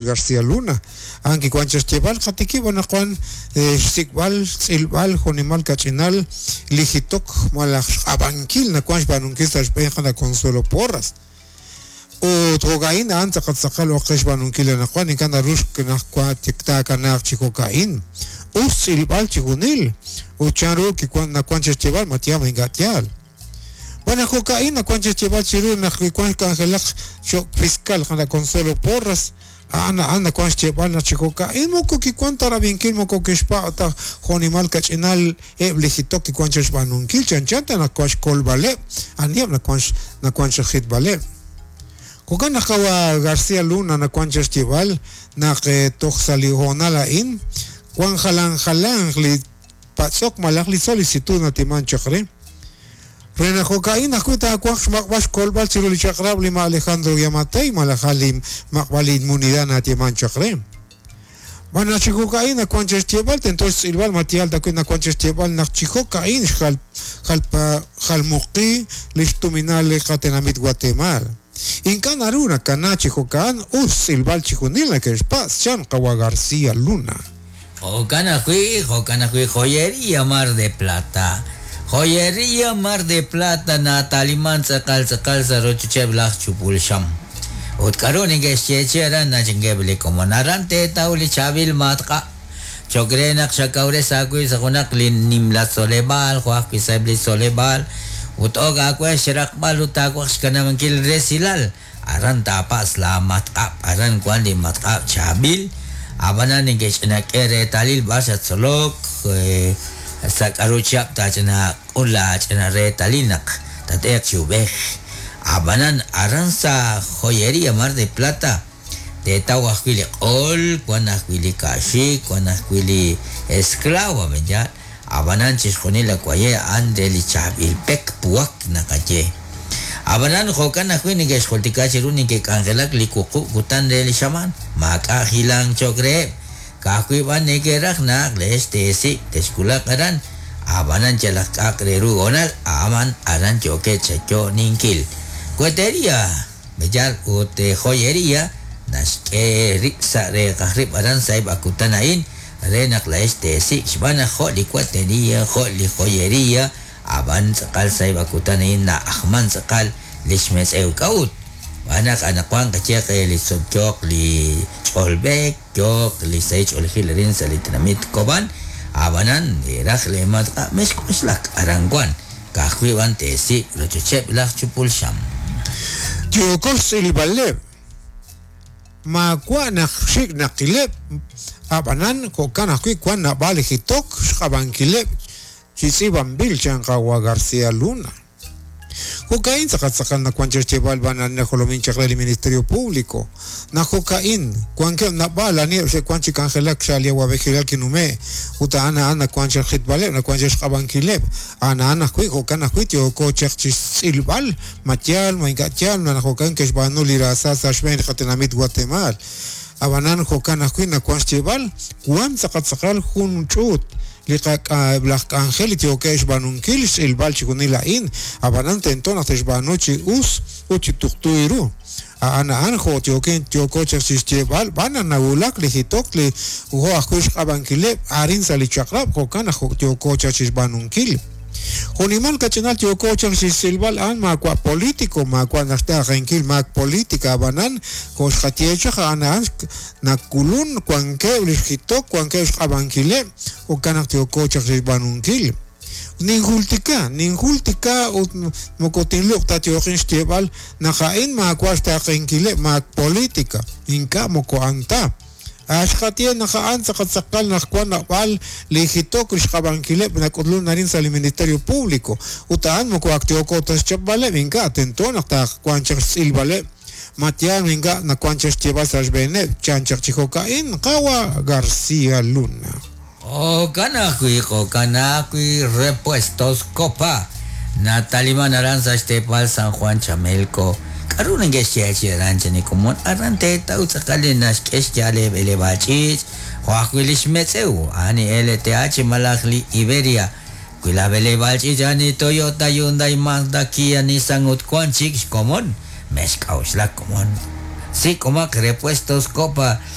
García Luna. A'an kiwan chaq xyeeb'al, Qatikib' anaqwan xsik'b'al, xtz'ilb'al jo'nimal kach'inal li jitok malaj xq'ab'ankil nawank xb'aanunkil sa' xb'een qana' Consuelo Porras. Ut jo'ka'in a'an tz'aqal tz'aqal ok qe xb'aanunkil anaqwan, ink'a' naru naq taakanaaq chi jo'ka'in. Us xtz'ilb'al chijunil ut chanru kiwan nawank chaq xyeeb'al ma yaal ma ink'a' yaal. Xb'aan naq jo'ka'in nawank chi xyeeb'al chiru naq wi wank xk'anjelaq cho'q fiscal qana' Consuelo Porras, a'an a'an nawank xyeeb'al naq chi jo'ka'in moko kiwank ta rab'inkil moko kixpa' ta jo'nimal kach'inal eb' li jitok kiwank chaq xb'aanunkil chanchan ta naq wank xkolb'aleb' aniheb' nawank nawank chaq xjitb'aleb'. Jo'kan naq qawa' García Luna nawank chaq xyeeb'al naq toj sa' li hoonal a'in wank jalanjalanq li patz'ok malaj li solicitud natiman chaq re. Re naq jo'ka'in ajwi' taawanq xmaq'b'al xkolb'al chiru li chaq'rab' li ma' Alejandro Giammattei malaj a' li maq'b'al li inmunidad natieman chaq re. Xb'aan naq chi jo'ka'in nawank chaq xyeeb'al tento xtz'ilb'al ma yaal ta wi' nawank chaq xyeeb'al naq chi jo'ka'in xjal jalmuqi li xtuminal li qatenamit Watemaal. Ink'a' naru nakana chi jo'ka'an us xtz'ilb'al chijunil nake'xpatz', chan qawa' García Luna. Jo'kan ajwi', jo'kan ajwi' Joyería Mar de Plata. Joyería Mar de Plata na'taliman tz'aqal tz'aqal sa' rochocheb' laj chupul xam. Ut k'a'ru neke'xyeechi aran nachinkeb' li komon aran teetaw li chaab'il matq'a' choq' re naq xakawres aawib' sa' junaq li nimla tzoleb'aal jo' ajwi' sa'eb' li tzoleb'aal ut ok aawe xraqb'al ut taawaj xkanab'ankil resilal Aran taapatz' laamatq'ab', aran wank li matq'ab' chaab'il, ab'anan neke'ch'ina k'e reetalil b'ar xattzolok, sa' k'aru chihab' taach'ina k'ul laach'ina reetalil naq tat'eeq chi ub'ej. Ab'anan aran sa' Joyería Mar de Plata teetaw ajwi' li q'ol, wank ajwi' li ka'xik, wank ajwi' li esclavo, yaal? Ab'anan chixjunil la waye' a'an re li chaab'il pek puwak naqaye. Ab'anan jo'kan ajwi' neke'xjultika chiru neke'k'anjelak li wuqub' kutan re li xamaan, maak'a' hilank cho'q reheb', ka'ajwi' b'an neke'raj naq leex teesik' texwulaq aran, ab'anan yalaq k'a'aq re ru hoonal a'an aran yookeb' chayo'ninkil. Cuetería, b'eyal ut joyería naxk'e rib' sa' reeqaj rib' aran sa'eb' a kutan a'in, Re naq laa'ex teesik' xb'aan naq jo' li kuateria, jo' li joyeria, a'b'an tz'aqal sa'eb' a kutan a'in na'ajman tz'aqal li xmetz'ew. K'a'ut? Xb'aan naq anaqwan qayeeq li yooq li ch'olb'eek, yooq li sahil ch'oolejil arin sa' li tenamit Cobán, a'b'anan li raj lee matq'a' mexk'oxlak aran wan, ka'ajwi' b'an teesik' rochocheb' laj chupul xam. Yooko xtz'ilb'aleb'. Maawa' naq xik' naqileb', ab'anan jo'kan ajwi' wank naab'al li jitok xq'ab'ankileb' chi tz'iib'anb'il, chan qawa' García Luna. Jo'ka'in tz'aqal tz'aqal nawank chaq xyeeb'al b'an ani najolomin chaq re li Ministerio Público. Naq jo'ka'in, wankeb' naab'al aniheb' xe'wank chi k'anjelak sa' li awa'b'ejilal kinume' ut a'an a'an nawank chaq xjitb'aleb', nawank chaq xq'ab'ankileb'. A'an a'an ajwi' jo'kan ajwi' yooko chaq chi xtz'ilb'al Ma yaal, ma ink'a' yaal naq jo'kan ke'xb'aanu li raasa sa' xb'een li qatenamit Watemaal. Ab'anan jo'kan ajwi' nawank xyeeb'al, wank tz'aqal tz'aqal jun ch'uut li eb' laj k'anjel li yookeb' xb'aanunkil xtz'ilb'al chixjunil a'in, ab'anan tento naq te'xb'aanu chi us ut chi tuqtu ru. A'an a'an jo' yookin yooko chaq chi xyeeb'al b'an naq nawulak li jitok li jo' ajwi' xq'ab'ankileb' arin sa' li chaq'rab' jo'kan naq jo' yooko chaq chi xb'aanunkil. Jo'nimal kach'inal yooko chaq chi xtz'ilb'al a'an maawa' politico, maawa' naq xtaaqenkil maak politica ab'anan jo' xqaye chaq a'an a'an nakulun wankeb' li xjitok wankeb' xq'ab'ankileb' jo'kan naq yooko chaq chi xb'aanunkil. Ninjultika, ninjultika ut moko tinluq' ta yooqin xyeeb'al naq a'in maawa' xtaaqenkileb' maak politica, ink'a' moko a'an ta. A Xqaye naq a'an tz'aqal tz'aqal naq wan naab'al li jitok li xq'ab'ankileb' nak'utlun arin sa' li Ministerio Público ut a'an moko ak yooko ta xchapb'aleb' ink'a' tento naq taawanq chaq xtz'ilb'aleb' ma yaal ma ink'a' nawank chaq xyeeb'al sa' xb'eeneb' chan chaq chi jo'ka'in qawa' García Luna. Jo'kan ajwi', jo'kan ajwi' Repuestos Copa nataliman aran sa' xteepal San Juan Chamelco. K'aru neke'xyeechi'i aran chan li komon? Aran teetaw tz'aqal li naxk'e xyaal eeb'eleb'aal ch'iich', jo' ajwi' li xmetz'ew, a'an li LTH malaj li Iberia. Wi laj b'eleb'aal ch'iich' a'an li Toyota, Hyundai, Mazda, Kia, Nissan ut wank chik xkomon, mexk'a'uxlak komon. Sik'omaq repuestos Copa.